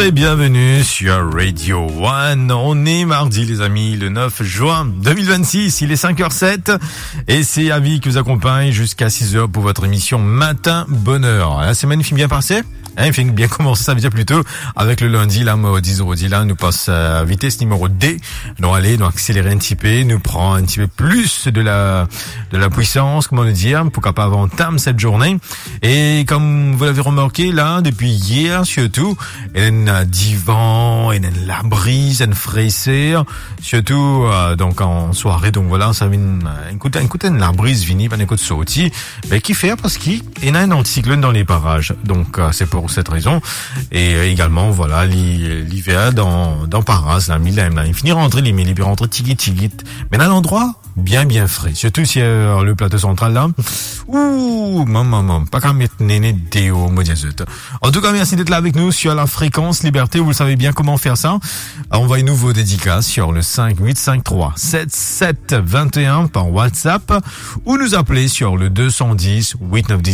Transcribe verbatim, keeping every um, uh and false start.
Et bienvenue sur Radio One. On est mardi, les amis, le neuf juin deux mille vingt-six. Il est cinq heures sept et c'est Avi qui vous accompagne jusqu'à six heures pour votre émission Matin Bonheur. La semaine finn bien passé? Hein, finn bien komanse, sa ve dir plito avek le lindi, la, mo diz, zordi la, nou pas, euh, vitesse numéro deux. Nou ale, nou akseler enn tipe, nou pran enn tipe plis de la, de la puissance, kouma nou dir, pou kapav antam cette journée. Et comme vous l'avez remarqué, là, depuis hier, surtout, il y a un divan, il y a la brise, une fraîcheur, surtout, euh, donc en soirée. Donc voilà, sa vinn, euh, enn kout, enn kout labriz vini, pa enn kout sorti. Me kifer? Parski ena enn anticyclone dans les parages. Donc, euh, c'est pour cette raison. Et, euh, également, voilà, li, liver dan, dan paraz, la, li, la, li fini rantre, li, me li pe rantre tigit, tigit. Me ena landrwa bien, bien fre. Surtout sur le plateau central, la. Ouh, maman, maman, pa kapav met nene deor, mo dir zot. En tout cas, merci d'être là avec nous sur la fréquence Liberté. Vous le savez bien comment faire ça. Envoyez-nous vos dédicaces sur le cinq huit cinq trois sept sept vingt et un par WhatsApp ou nous appeler sur le deux cent dix huit neuf dix.